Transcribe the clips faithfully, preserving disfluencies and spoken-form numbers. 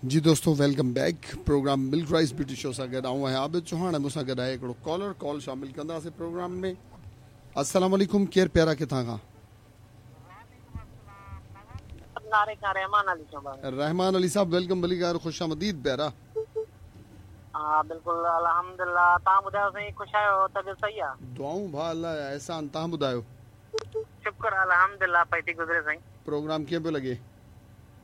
जी दोस्तों, welcome back. Programme Milk Rice Beauty Show सां गॾु आउं आहियां आबिद चौहान ऐं मूंसां गॾु आहे हिकिड़ो कॉलर। कॉल शामिल कंदासीं प्रोग्राम में। अस्सलाम वालेकुम, केरु प्यारा, किथां खां? रहमान अली साहब, welcome भलीकार, ख़ुश आमदीद प्यारा। हा बिल्कुलु, अल्हम्दुलिल्लाह। तव्हां ॿुधायो साईं, ख़ुशि आहियो? तबियत सही आहे? दुआऊं भाउ, अलाह जा एहसान। तव्हां ॿुधायो? शुक्र अल्हम्दुलिल्लाह, पई थी गुज़रे साईं। प्रोग्राम कीअं पियो लॻे?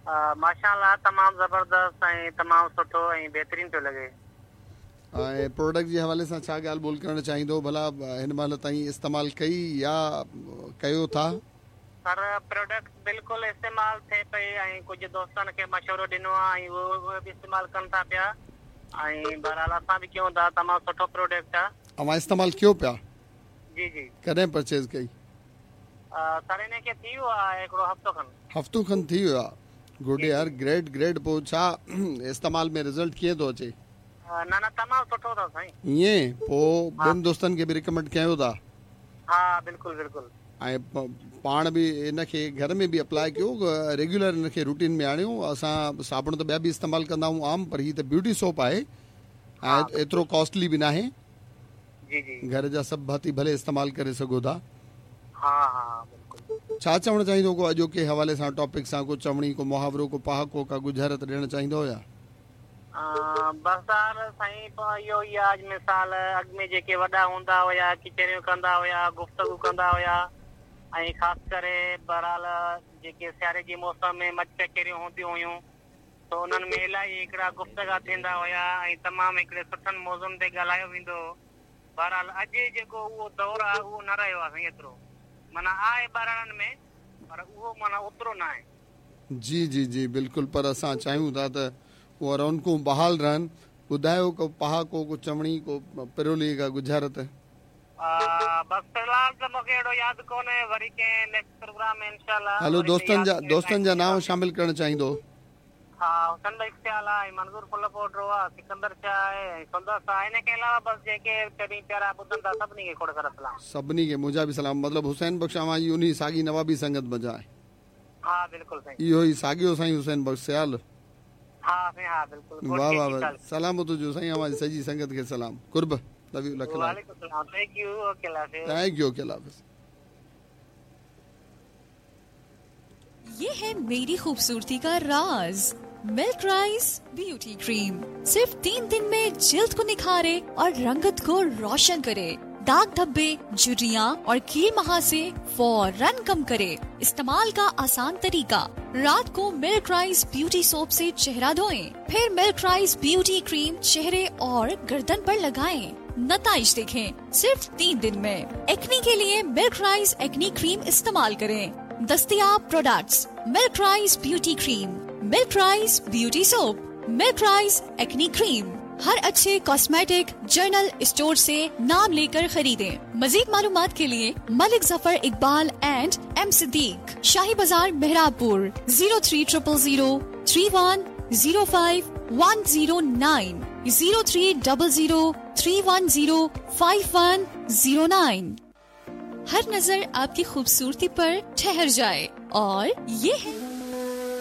माशाअल्लाह, तमामु ज़बरदस्त ऐं तमामु सुठो ऐं बहितरीन पियो लॻे। ऐं प्रोडक्ट जे हवाले सां छा ॻाल्हि ॿोल करणु चाहींदो? भला हिन महिल ताईं इस्तेमालु कई या कयो था? सर, प्रोडक्ट बिल्कुलु इस्तेमालु थिए पई ऐं कुझु दोस्तनि खे मशवरो ॾिनो आहे ऐं उहे बि इस्तेमालु कनि था पिया ऐं बहरहाल असां बि कयूं था। तमामु सुठो प्रोडक्ट आहे। अव्हां इस्तेमालु कयो पिया? जी जी। कॾहिं परचेज़ कई? सर, हिन खे थी वियो आहे हिकिड़ो हफ़्तो खनि। हफ़्तो खनि थी वियो आहे। गुड यार, ग्रेट ग्रेट। पोइ छा इस्तेमाल में रिज़ल्ट कीअं थो अचे? न न, तमामु सुठो अथव साईं। ईअं पोइ ॿियनि दोस्तनि खे बि रिकमेंड कयो था? हा बिल्कुलु बिल्कुलु। ऐं पाण बि इनखे घर में बि अप्लाई कयो, रेगुलर इनखे रूटीन में आणियो। असां साबुण त ॿिया बि इस्तेमालु कंदा आहियूं आम, पर हीअ त ब्यूटी सोप आहे ऐं एतिरो कॉस्टली बि नाहे। जी जी। घर जा सभु भाती भले इस्तेमालु करे सघो था। हा हा बिल्कुलु। छा चवणु चाहींदो को अॼोके हवाले सां, टॉपिक सां, को चवणी, को मुहावरो, को पहाको, का गुझारत ॾियणु चाहींदो या? बसि यार साईं, इहो ई आहे। मिसाल अॻु में जेके वॾा हूंदा हुया, कचहरियूं कंदा हुया, गुफ़्तगू कंदा हुया ऐं ख़ासि करे बहरहाल जेके सियारे जी मौसम में मच कचहरियूं हूंदियूं हुयूं त उन्हनि में इलाही हिकिड़ा गुफ़्तगा थींदा हुया ऐं तमामु हिकिड़े सुठनि मौज़ुनि ते ॻाल्हायो वेंदो हो। बहरहाल अॼु जेको उहो दौरु आहे उहो न रहियो आहे साईं एतिरो, माना आहे ॿारनि में पर उहो माना ओतिरो न आहे। जी जी जी बिल्कुलु। पर असां चाहियूं था त उहा रौनकूं बहाल रहनि। ॿुधायो को पहाको, को चवणी, को पिरोली, का गुझारत? बसि फ़िलहाल त मूंखे अहिड़ो यादि कोन्हे, वरी कंहिं नेक्स्ट प्रोग्राम में इंशाअल्लाह। हलो, दोस्तनि जा दोस्तनि जा नाम शामिल करणु चाहींदो? हा, हुसैन भाई ख्याल आहे, मंज़ूर फुलपोटरो आहे, सिकंदर शाह आहे ऐं सुंदर शाह। हिन खे अलावा बसि जेके कॾहिं प्यारा ॿुधनि था सभिनी खे खोड़ सारा सलाम। सभिनी खे मुंहिंजा बि सलाम। मतिलबु हुसैन बख़्श अव्हां जी उन्ही साॻी नवाबी संगत मंझां आहे? हा बिल्कुलु साईं। इहो ई साॻियो साईं हुसैन बख़्श सियाल? हा साईं, हा बिल्कुलु। वाह वाह वाह, सलाम तुंहिंजो साईं, अव्हां जी सॼी संगत खे सलाम। कुर्ब, लव you, lakh वालेकुम सलाम। Thank you, okay अल्लाह हाफ़िज़। Thank you, okay अल्लाह हाफ़िज़। ये है मेरी खूबसूरती का राज, मिल्क राइस ब्यूटी क्रीम। सिर्फ तीन दिन में जिल्द को निखारे और रंगत को रोशन करे। दाग धब्बे, झुर्रियाँ और कील महासे फौरन कम करे। इस्तेमाल का आसान तरीका, रात को मिल्क राइस ब्यूटी सोप से चेहरा धोएं, फिर मिल्क राइस ब्यूटी क्रीम चेहरे और गर्दन पर लगाएं। नताइज देखें सिर्फ तीन दिन में। एक्ने के लिए मिल्क राइस एक्ने क्रीम इस्तेमाल करें। दस्तियाब products Milk Rice beauty cream, Milk Rice beauty soap, Milk Rice acne cream. हर अच्छे कॉस्मेटिक जर्नल स्टोर से नाम लेकर खरीदें। मजीद मालूमात के लिए Malik Zafar Iqbal and M Siddique, Shahi Bazaar Mehrabpur, zero three triple zero three one zero five one zero nine, zero three double zero three one zero five one zero nine. हर नजर आपकी खूबसूरती पर ठहर जाए और ये है